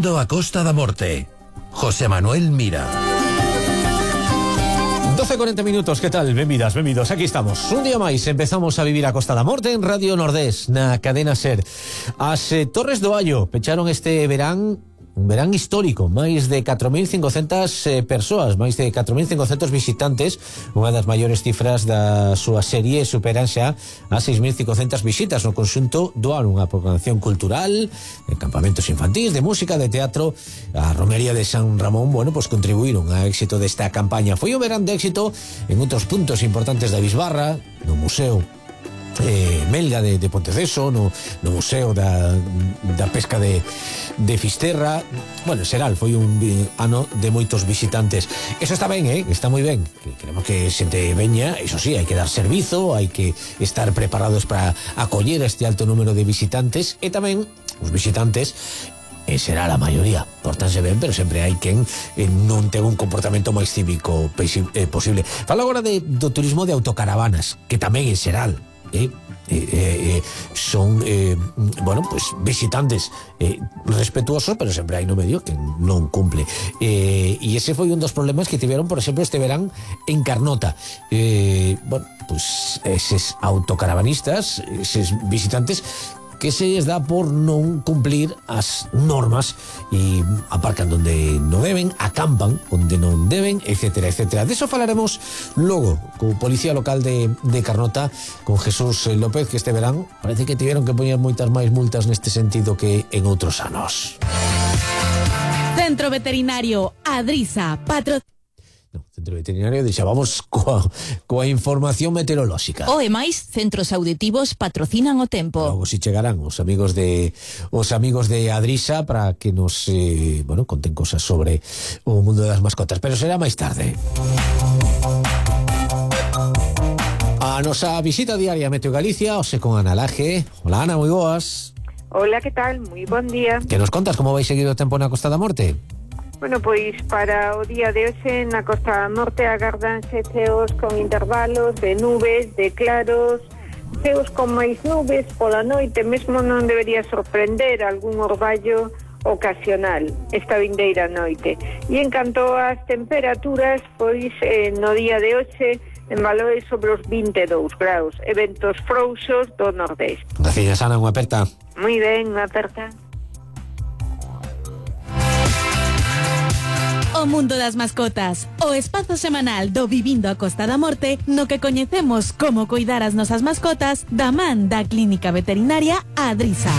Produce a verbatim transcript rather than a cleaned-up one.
Vivindo a Costa da Morte. José Manuel Mira. doce e cuarenta minutos, que tal? Benvidas, benvidos, aquí estamos. Un día máis empezamos a vivir a Costa da Morte en Radio Nordés, na cadena SER. As eh, Torres do Allo pecharon este verán, un verán histórico, máis de catro mil cincocentas eh, persoas, máis de catro mil cincocentos visitantes, unha das maiores cifras da súa serie, superan xa a seis mil cincocentas visitas no conxunto do ano, unha programación cultural, de campamentos infantís, de música, de teatro. A Romería de San Ramón, bueno, pues contribuíron ao éxito desta campaña. Foi un verán de éxito en outros puntos importantes da Bisbarra, no Museo Eh, Melga de, de Ponteceso, no, no Museo da, da Pesca de, de Fisterra. Bueno, Seral foi un vi, ano de moitos visitantes. Eso está ben, eh? Está moi ben. Queremos que xente veña, eso sí, hai que dar servizo, hai que estar preparados para acoller este alto número de visitantes, e tamén os visitantes e será a maioría, portanse ben, pero sempre hai quen eh, non ten un comportamento máis cívico eh, posible. Fala agora de, do turismo de autocaravanas, que tamén é Seral. Eh, eh, eh, son eh, bueno, pues visitantes eh, respetuosos, pero sempre hai no medio que non cumple, eh, e ese foi un dos problemas que tiveron, por exemplo, este verán en Carnota. eh, bueno, pues eses autocaravanistas, eses visitantes que se les dá por non cumplir as normas e aparcan donde non deben, acampan onde non deben, etcétera, etcétera. De eso falaremos logo co policía local de, de Carnota, con Jesús López, que este verán parece que tiveron que poñer moitas máis multas neste sentido que en outros anos. Centro Veterinario Adrisa, patro... No, Centro Veterinario, deixa, vamos coa, coa información meteorolóxica. O e máis, centros auditivos patrocinan o tempo. Logo si chegarán os amigos de os amigos de Adrisa para que nos eh, bueno, conten cosas sobre o mundo das mascotas, pero será máis tarde. A nosa visita diaria a Meteo Galicia, ose con Ana Laje. Hola, Ana, moi boas. Hola, que tal? Moi bon día. Que nos contas como vai seguir o tempo na Costa da Morte? Bueno, pois para o día de hoxe na Costa da Morte agardanse ceos con intervalos de nubes, de claros, ceos con máis nubes pola noite, mesmo non debería sorprender algún orballo ocasional esta vindeira noite. E en canto ás temperaturas, pois eh, no día de hoxe en valores sobre os vinte e dous graus, eventos frouxos do nordeste. Gracias, Ana, unha aperta. Moi ben, unha aperta. O mundo das mascotas, o espazo semanal do Vivindo a Costa da Morte, no que coñecemos como coidar as nosas mascotas da man da Clínica Veterinaria Adrisa.